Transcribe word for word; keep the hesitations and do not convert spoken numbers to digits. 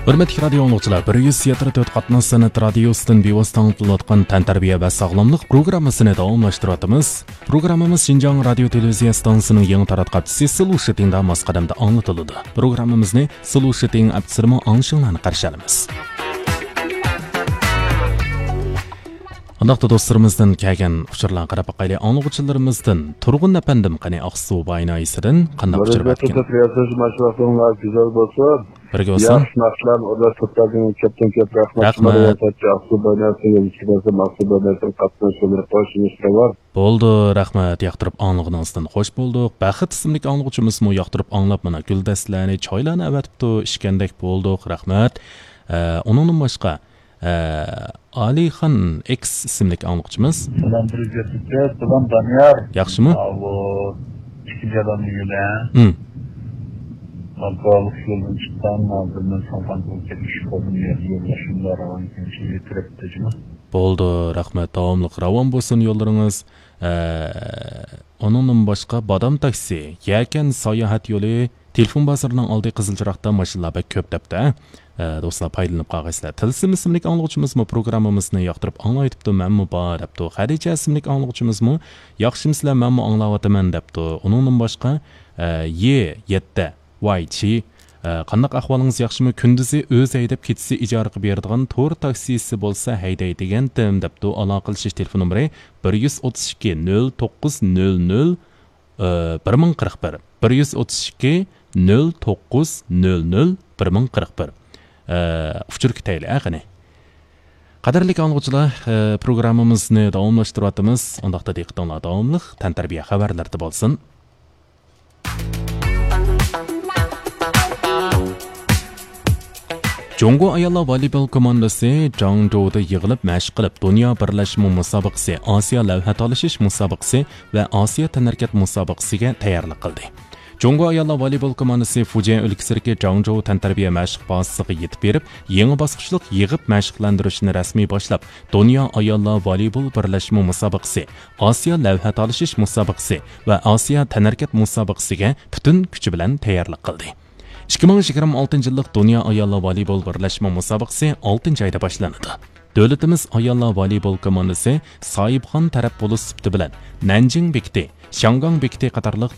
ھۆرمەتلىك رادىيو ئاڭلىغۇچىلار، بىر يۈز يەتتە تۆت قاتناش سەنئەت رادىيوسىدىن بىۋاسىتە ئاڭلىتىلىۋاتقان تەنتەربىيە ۋە ساغلاملىق پروگراممىسىنى داۋاملاشتۇرۇۋاتىمىز. پروگراممىمىز شىنجاڭ رادىيو تېلېۋىزىيە ئىستانسىسىنىڭ يېڭى تاراتقۇ ئاپچىسى سلوشىتىڭدا ماس قەدەمدە ئاڭلىتىلىدۇ. پروگراممىمىزنى سلوشىتىڭ ئاپچىسىدىمۇ ئاڭلىشىڭلارنى قارشى ئالىمىز. ئۇنداقتا دوستلىرىمىزدىن كەلگەن ئۇچۇرلارغا قاراپ باقايلى. ئاڭلىغۇچىلىرىمىزدىن تۇرغۇن ئەپەندىم، قېنى، ئاقسۇ باي ناھىيەسىدىن قانداق ئۇچۇر بەرگەن؟ رىياسەت، ماشۇ ۋاقتىڭلار گۈزەل بولسۇن. بىرگە بولسۇن. ياخشى ناخشىلارنى ئورۇنلاشتۇرۇپتۇ، كۆپتىن كۆپ رەھمەت. رەھمەت. شۇڭا رىياسەتچى ئاقسۇ باي ناھىيەسىگە يېتىشىپ بەرسە، ئاقسۇ باي ناھىيەسىنىڭ قاتنىشىشى بىلەن خوش ئىشلار بار. بولدى، رەھمەت، ياقتۇرۇپ ئاڭلىغىنىڭىزدىن خوش بولدۇق. بەخت ئىسىملىك ئاڭلىغۇچىمىزمۇ ياقتۇرۇپ ئاڭلاپ، مانا، گۈلدەستىلەرنى، چايلارنى ئەۋەتىپتۇ، ئىچكەندەك بولدۇق، رەھمەت. ئە، ئۇنىڭدىن باشقا، ئە، ئالىخان ئېكس ئىسىملىك ئاڭلىغۇچىمىز. سالام، بىر يۈز يەتتە تۆت، سالام، دانىيار. ياخشىمۇ؟ ھاۋۇ، ئىككىنچى ئادەمنى يۆلە. ھىم. ئابدۇللىق يولدىن چىققان، ھازىر مەن سامان بولۇپ كەتمىش بولدۇم، يولداشىم بار، راۋان كېلىشىگە كىرىپ تېجىمە. بولدى، رەھمەت، داۋاملىق راۋان بولسۇن يوللىرىڭىز. ئە، ئۇنىڭدىن باشقا بادام تاكسى، يەكەن ساياھەت يولى، تېلېفون بازىرىنىڭ ئالدى قىزىل چىراغدا ماشىنىلار بەك كۆپ دەپتۇ، ھە؟ ئە، دوستلار، پايدىلىنىپ قالغايسىلەر. تىلسىم ئىسىملىك ئاڭلىغۇچىمىزمۇ پروگراممىمىزنى ياقتۇرۇپ ئاڭلايتىپتۇ، مەنمۇ بار دەپتۇ. خەدىچە ئىسىملىك ئاڭلىغۇچىمىزمۇ ياخشىمۇسىلەر، مەنمۇ ئاڭلاۋاتىمەن دەپتۇ. ئۇنىڭدىن باشقا، ئە، يې يەتتە ۋاي چى، ئە، قانداق ئەھۋالىڭىز، ياخشىمۇ؟ كۈندۈزى ئۆزى ھەيدەپ، كېچىسى ئىجارىگە بېرىدىغان تور تاكسىسى بولسا ھەيدەي دېگەنتىم دەپتۇ. ئالاقىلىشىش تېلېفون نومۇرى بىر يۈز ئوتتۇز ئىككى، نۆل توققۇز، نۆل نۆل، ئە، بىر مىڭ قىرىق بىر، بىر يۈز ئوتتۇز ئىككى، نۆل توققۇز، نۆل نۆل، بىر مىڭ قىرىق بىر. ئە، ئۇچۇر كۈتەيلى، ئە، قېنى. قەدىرلىك ئاڭلىغۇچىلار، ئە، پروگراممىمىزنى داۋاملاشتۇرۇۋاتىمىز. ئۇنداقتا دىققىتىڭلار داۋاملىق تەنتەربىيە خەۋەرلىرىدە بولسۇن. جۇڭگو ئاياللار ۋالىبول كوماندىسى جاڭجۇدا يىغىلىپ مەشىق قىلىپ، دۇنيا بىرلەشمە مۇسابىقىسى، ئاسىيا لەۋھە تالىشىش مۇسابىقىسى ۋە ئاسىيا تەنھەرىكەت مۇسابىقىسىگە تەييارلىق قىلدى. جۇڭگو ئاياللار ۋالىبول كوماندىسى فۇجيەن ئۆلكىسىدىكى جاڭجۇ تەنتەربىيە مەشىق بازىسىغا يېتىپ بېرىپ، يېڭى باسقۇچلۇق يىغىپ مەشىقلەندۈرۈشنى رەسمىي باشلاپ، دۇنيا ئاياللار ۋالىبول بىرلەشمە مۇسابىقىسى، ئاسىيا لەۋھە تالىشىش مۇسابىقىسى ۋە ئاسىيا تەنھەرىكەت مۇسابىقىسىگە پۈتۈن كۈچى بىلەن تەييارلىق قىلدى. ئىككى مىڭ يىگىرمە ئالتىنچى يىللىق دۇنيا ئاياللار ۋالىبول بىرلەشمە مۇسابىقىسى ئالتىنچى ئايدا باشلىنىدۇ. دۆلىتىمىز ئاياللار ۋالىبول كوماندىسى ساھىبخان تەرەپ بولۇش سۈپىتى بىلەن نەنجىڭ بېكىتى، شياڭگاڭ بېكىتى قاتارلىق